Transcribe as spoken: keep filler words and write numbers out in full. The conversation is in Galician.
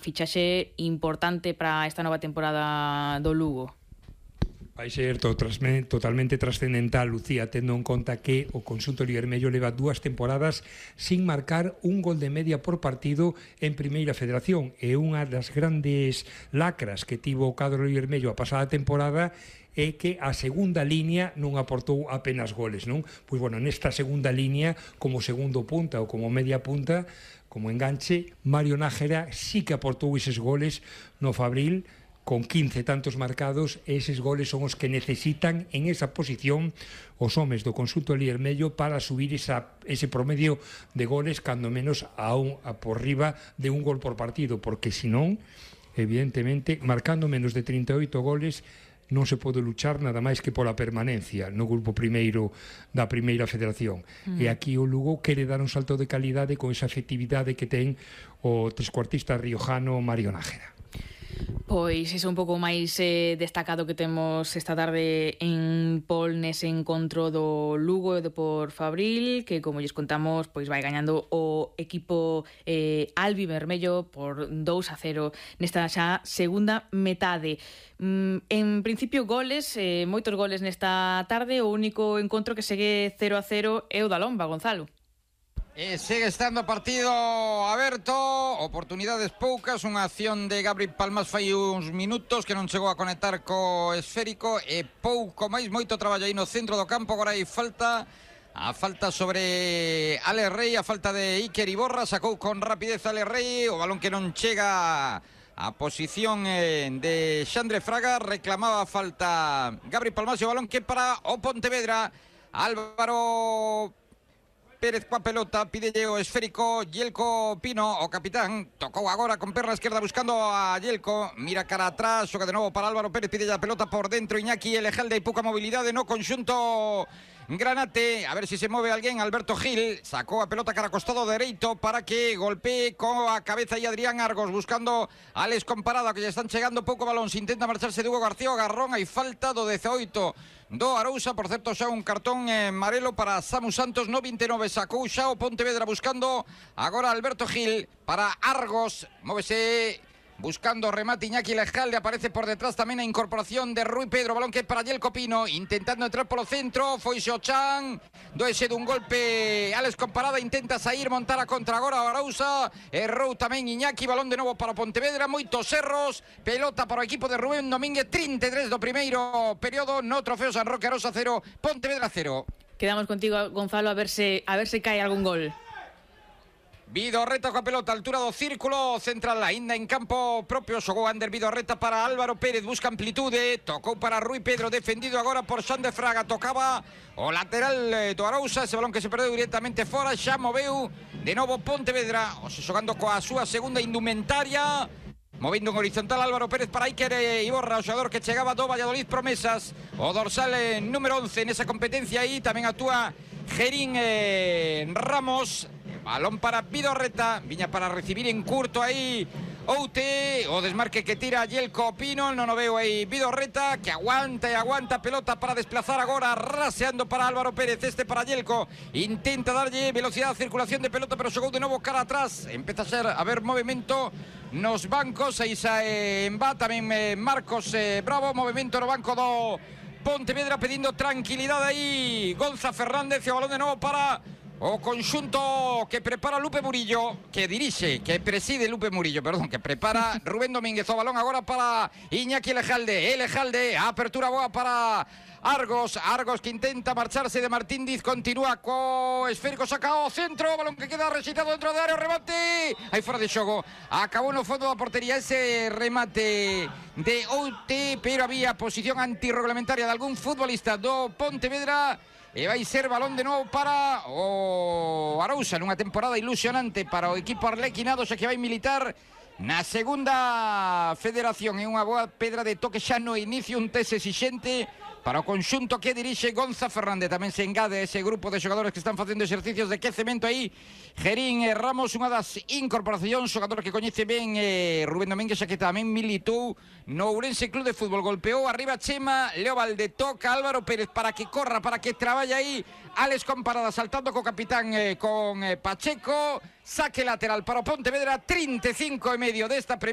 fichaxe importante para esta nova temporada do Lugo. Vai ser totalmente trascendental, Lucía, tendo en conta que o conxunto liermello leva dúas temporadas sin marcar un gol de media por partido en Primeira Federación, e unha das grandes lacras que tivo o cadro liermello a pasada temporada é que a segunda línea non aportou apenas goles, non? Pois, bueno, nesta segunda línea, como segundo punta ou como media punta, como enganche, Mario Nájera sí que aportou eses goles no Fabril, con quince tantos marcados, e eses goles son os que necesitan en esa posición os homes do conxunto liermello para subir esa, ese promedio de goles cando menos a, un, a por riba de un gol por partido, porque senón, evidentemente, marcando menos de trinta e oito goles non se pode luchar nada máis que pola permanencia no grupo primeiro da Primeira Federación. Mm. E aquí o Lugo quere dar un salto de calidade con esa efectividade que ten o trescuartista riojano Mario Nájera. Pois iso un pouco máis eh, destacado que temos esta tarde en Pol nese encontro do Lugo e do por Fabril, que como lles contamos, pois vai gañando o equipo eh, albivermello por dous a cero nesta xa segunda metade. Mm, en principio goles, eh, moitos goles nesta tarde, o único encontro que segue cero a cero é o da Lomba, Gonzalo. E segue estando o partido aberto, oportunidades poucas, unha acción de Gabri Palmas fai uns minutos que non chegou a conectar co esférico e pouco máis, moito traballo aí no centro do campo. Agora hai falta, a falta sobre Ale Rey, a falta de Iker Iborra, sacou con rapidez Ale Rey, o balón que non chega a posición de Xandre Fraga, reclamaba falta Gabri Palmas, o balón que para o Pontevedra. Álvaro Pérez coa pelota, pídelle o esférico Yelko Pino, o capitán, tocou agora con perna esquerda buscando a Yelko, mira cara atrás, xoga de novo para Álvaro Pérez, pídelle a pelota por dentro Iñaki Elejalde, hai pouca mobilidade no conxunto Granate, a ver se se move alguén. Alberto Gil sacou a pelota cara costado dereito para que golpee coa cabeza e Adrián Argos buscando a Alex Comparada, que lle están chegando pouco balón, se intenta marcharse Hugo García Garrón, hai falta do dezaoito do Arousa, por certo xa un cartón eh, amarelo para Samu Santos no vinte e nove, sacou xa o Pontevedra buscando agora Alberto Gil para Argos, móvese buscando remate Iñaki Lejalde, aparece por detrás tamén a incorporación de Rui Pedro, balón que para Yelko Pino, intentando entrar polo centro, foi Xochan, doese dun golpe Alex Comparada, intenta sair, montar a contra agora o Arousa, errou tamén Iñaki, balón de novo para Pontevedra, moitos erros, pelota para o equipo de Rubén Domínguez, trinta e tres do primeiro período no Trofeo San Roque, Arousa cero, Pontevedra cero. Quedamos contigo, Gonzalo, a ver se a ver se cae algún gol. Vidorreta coa pelota, altura do círculo central, ainda en campo propio, xogou Ander Vidorreta para Álvaro Pérez, busca amplitude, tocou para Rui Pedro, defendido agora por Xande Fraga, tocaba o lateral do Arousa, ese balón que se perdeu directamente fora, xa moveu de novo Pontevedra, o se xogando coa súa segunda indumentaria, movendo en horizontal Álvaro Pérez para Iker Iborra, o xogador que chegaba do Valladolid Promesas, o dorsal eh, número once nesa competencia aí, tamén actúa Gerín eh, Ramos. Balón para Vidorreta, viña para recibir en curto aí Oute, o desmarque que tira Yelko Pino, non o veo aí Vidorreta, que aguanta e aguanta, pelota para desplazar agora, raseando para Álvaro Pérez, este para Yelko, intenta darlle velocidade a circulación de pelota, pero xogou de novo cara atrás, empeza a ser a ver movimento nos bancos, aí sae Embá, tamén eh, Marcos eh, Bravo, movimento no banco do Pontevedra, pedindo tranquilidade aí Gonza Fernández, e o balón de novo para o conxunto que prepara Lupe Murillo, que dirixe, que preside Lupe Murillo, perdón, que prepara Rubén Domínguez, o balón agora para Iñaki Elejalde, Elejalde, a apertura boa para Argos, Argos que intenta marcharse de Martín Diz, continúa co esférico, saca ao centro, balón que queda rexeitado dentro de área, remate, aí fora de xogo, acabou no fondo da portería ese remate de Oute, pero había posición antirreglamentaria de algún futbolista do Pontevedra, e vai ser balón de novo para o Arousa, nunha temporada ilusionante para o equipo arlequinado, xa que vai militar na segunda federación. É unha boa pedra de toque xa no inicio, un test exixente para o conxunto que dirixe Gonza Fernández. Tamén se engade ese grupo de xogadores que están facendo exercicios de quecemento aí. Gerín e Ramos, unha das incorporacións, xogador que coñece ben eh, Rubén Domínguez, xa que tamén militou no Ourense Club de Fútbol. Golpeou arriba Chema, Leo Valde, toca Álvaro Pérez para que corra, para que traballe aí Alex Comparada, saltando co capitán eh, con eh, Pacheco, saque lateral para o Pontevedra, trinta e cinco e medio desta primeira.